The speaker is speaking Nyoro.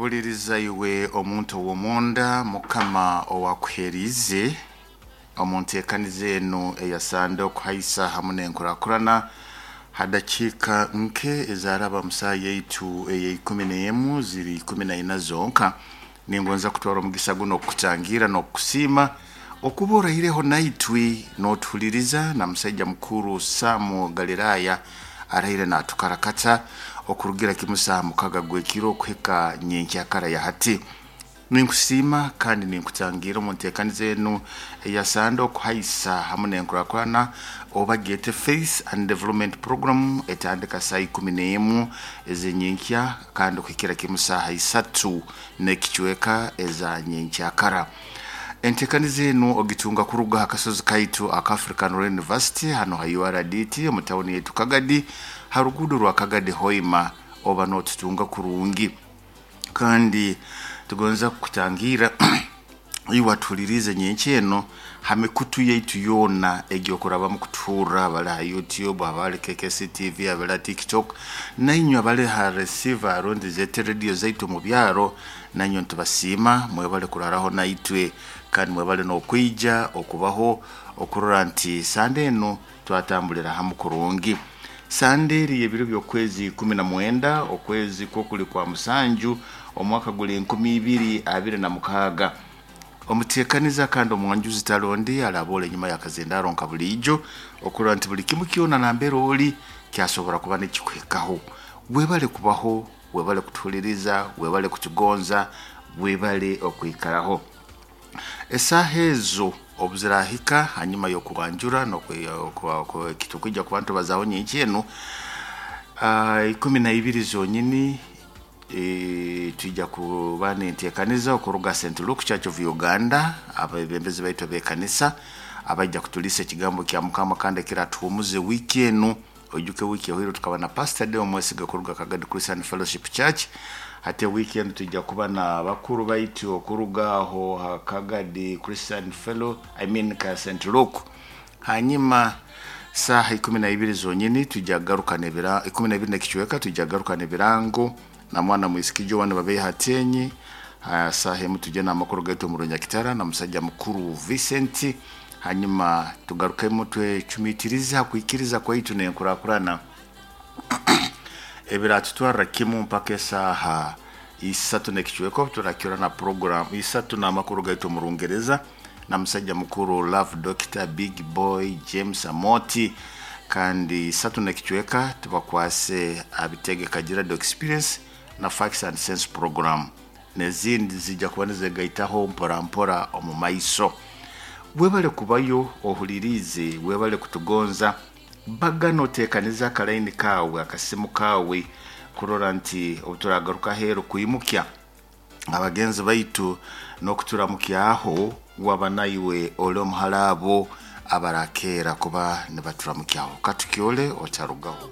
Huliriza iwe omuntu ow'omunda Mukama owakuheriize omu nteekaniza enu eyasande okuhaisa hamu n'enkurakurana ha dakiika nke ezaraba mu saaha yaitu eya 11 ziri 14 zonka. Ningonza kutwara omugisa guno okukutangira n'okukusiima okuba oraireho naitwe n'otuhuliriza na musaija mukuru Samu Galiraaya araire natukarakata okurugira kimu saaha 6 gw'ekiro okuhika nyenkyakara ya hati. Ninkusiima kandi ninkutangira omu nteekaniza enu eya sande okuhaisa hamu n'enkurakurana oba gyete Faith and Development Program etandika saa 11 ez'enyenkya kandi okuhikira kimu saaha 3 n'ekicweka eza nyenkyakara. Enteekaniza enu ogitunga kuruga ha kasozi kaitu aka African Royal University hano ha URDT omu tawuni yaitu Kagadi ha ruguudo rwa Kagadi Hoima oba n'otutunga kurungi. Kandi tugonza kukutangira iwe atuhuliriize nyenkya eno ha mikutu yaitu yoona egy'okurabamu kutuhurra abali ha YouTube, abali KKC TV, abali ha TikTok, nainywe abali ha receiver rundi zete radio zaitu omu byaro, nainywe nitubasiima mwebale kuraraho naitwe kandi mwebale n'okwija okubaho okurora nti sande enu twatambulira hamu kurungi. Sande eri y'ebiro by'okwezi 19 okwezi kwokuli kwa 7 omwaka guli 2026. Omuteekaniza kandi omwanjuzi talondi araboora enyuma y'akazindaro nka buliijo okurora nti buli kimu kyona nambere ori kyasobora kuba nikikuhikaho. Webale kubaho, webale kutuhuliriza, webale kutugonza, webale okwikaraho. Esaaha ezo obu zirahika hanyuma y'okwanjura n'ekitukwija kuba nitubazaho nyenkya enu, 12 zonyini twija kuba n'enteekaniza okuruga St. Luke Church of Uganda, abebembezi baitu ab'ekanisa abaija kutuliisa ekigambo kya Mukama kandi ekiratuhumuza wiiki enu. Oijuke wiiki ehoire tukaba na Pastor Deo Mwesiga kuruga Kagadi Christian Fellowship Church. Hati wiiki enu twija kuba na bakuru baitu okuruga aho ha Kagadi Christian Fellow, I mean ka St. Luke. Hanyuma saaha 12 zonyini twija kugarukana ebira 12 n'ekicweka twija kugarukana ebirango na mwana mwisiki Joan Babeiha Atenyi. Saaha emu tujye n'amakuru gaitu omu Runyakitara na musajja mukuru Vincent. Hanyuma tugarukemu twecumitirize ha kwikiriza kwaitu n'enkurakurana ebiratutwarra kimu mpaka esaaha 3 n'ekicweka obu turakira na program 3 n'amakuru gaitu omu Rungereza na musajja mukuru Love Doctor Big Boy James Amoti. Kandi 3 n'ekicweka tubakwase abitege Kagira Experience na Facts and Sense program n'ezindi zijja kuba nizegaitaho mpora mpora omu maiso. Webale kubayo ohuliriize, webale kutugonza, baga noteekaniza akalaini kawe akasimu kawe kurora nti obu turagaruka aheeru kwimukya abagenzi baitu n'okuturamukyaho waba naiwe oli omuhara abo abarakeera kuba nibaturamukyaho. Katukyole otarugaho.